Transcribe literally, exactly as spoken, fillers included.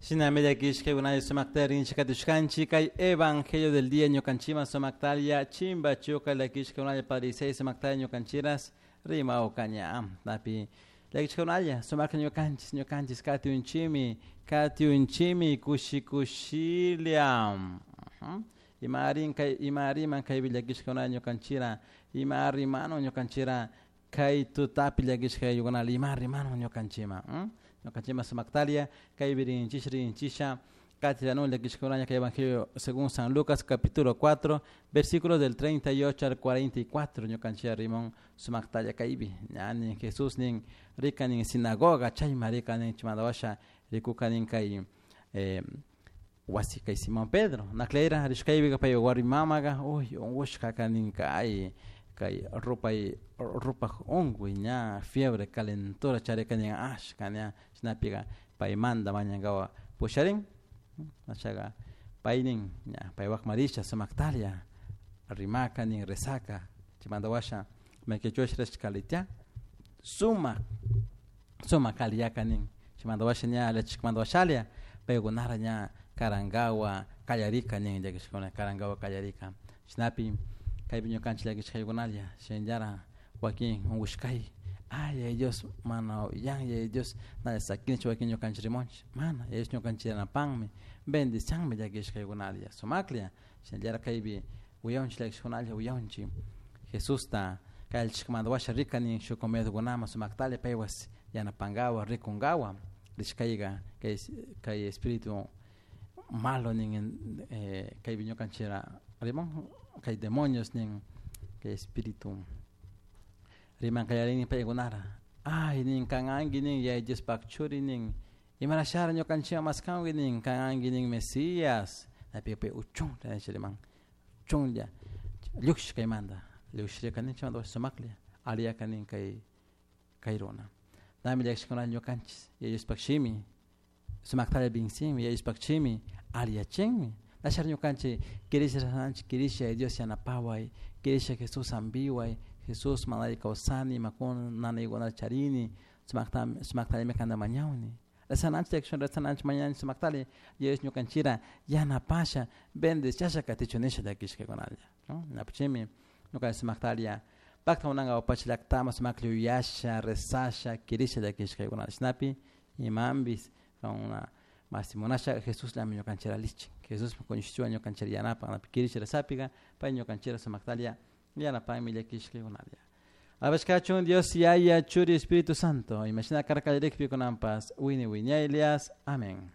Shinami llakishka sumakta rinchikatushkanchik kay evangelio del día ñukanchikman sumaktalia chimba chuka llakishka unalla padre sumakta ñukanchiras rimawkaña napi llakishka unalla sumakta ñukanchis ñukanchis katiunchimi katiunchimi kushi kushilia ima arin kay ima riman kaypi llakishka unalla ñukanchira ima rimano ñukanchira kay tutapi llakishka ayllukuna ima rimano ñukanchikman ñukanchikman sumaktalia kaypi rinchisha rinchisha katiranu llakishka kay evangelio según San Lucas capítulo cuatro versículos del treinta y ocho al cuarenta y cuatro ñukanchik rimon sumaktalla kaypi ñanin Jesús nin rika nin sinagoga chayma rika nin chimandawasha rikuka nin kay eh, wasi kay Simón Pedro nakleira rishkaypiqa pay warmi mamaqa uy unqushqa nin kay kay rupay rupaj unquy ña fiebre calentura charika nin ashka ña chaynapiqa paymanta mañankawa pusharin achaqa paynin ña paywaqman risha sumaktalia rimaka nin rezaka chaymanta washa maykichush rishkalitia sumak sumak aliyaka nin chaymanta washa ña lechikmanta washalia paykunara ña karankawa kallarika nin llakishkuna karankawa kallarika chaynapi kaypi ñukanchik llakishkaykunalla shinallara wakin unqushkay ay ay Dios mana yan yaya Dios na sakinichu wakin ñukanchik rimunchik mana yaya Dios ñukanchik yanapanmi bendicianmi llakishkaykunalla sumaklla shinallara kaypi uyawanchik llakishkunalla uyawanchik Jesusta kallchikmanta washa rika nin shuk comedkunaman sumaktalla paywas yanapankawa rikunkawa rishkayka kay kay espíritu malo nin eh, kaypi ñukanchikra rimon kay demonios nin kay espíritu riman kallarini paykunara ay nin kananki nin yaya Diospaq churi nin imarashara ñukanchikman maskanki nin kananki nin Mesías napi pay uchunlla nisha riman uchunlla llukshish kaymanta llukshirika nin chaymanta sumaklla aliyaka nin kay kay runa nami llakishkuna ñukanchis yaya Diospaq shimi sumaktalla binsinmi yaya Diospaq shimi aliyachinmi nashar ñukanchik kirisha ranchik kirisha Dios yanapaway kirisha Jesús hampiway Jesús manari kawsani imakuna nanaykunata charini sumakta sumaktallami kanta mañawni rezananchik llakishun rezananchik mañanchik sumaktalla Dios ñukanchira yanapasha bendiciasha katichun nisha llakishkakunalla no napuchimi ñukanchik sumaktalla pakta munanka pacha llaktaman sumaklla yuyasha rezasha kirisha llakishkaykunalla chaynapi imanpis una masi munasha Jesusllami ñukanchira lichin Jesús kuñishchuwan ñukanchira yanapan napi kirisha rezapika pay ñukanchira sumaktalla yanapanmi llakishkaykunalla Alabashkachun Dios Yaya Churi Espíritu Santo imashina karka kunanpas wini wiñaylias amén.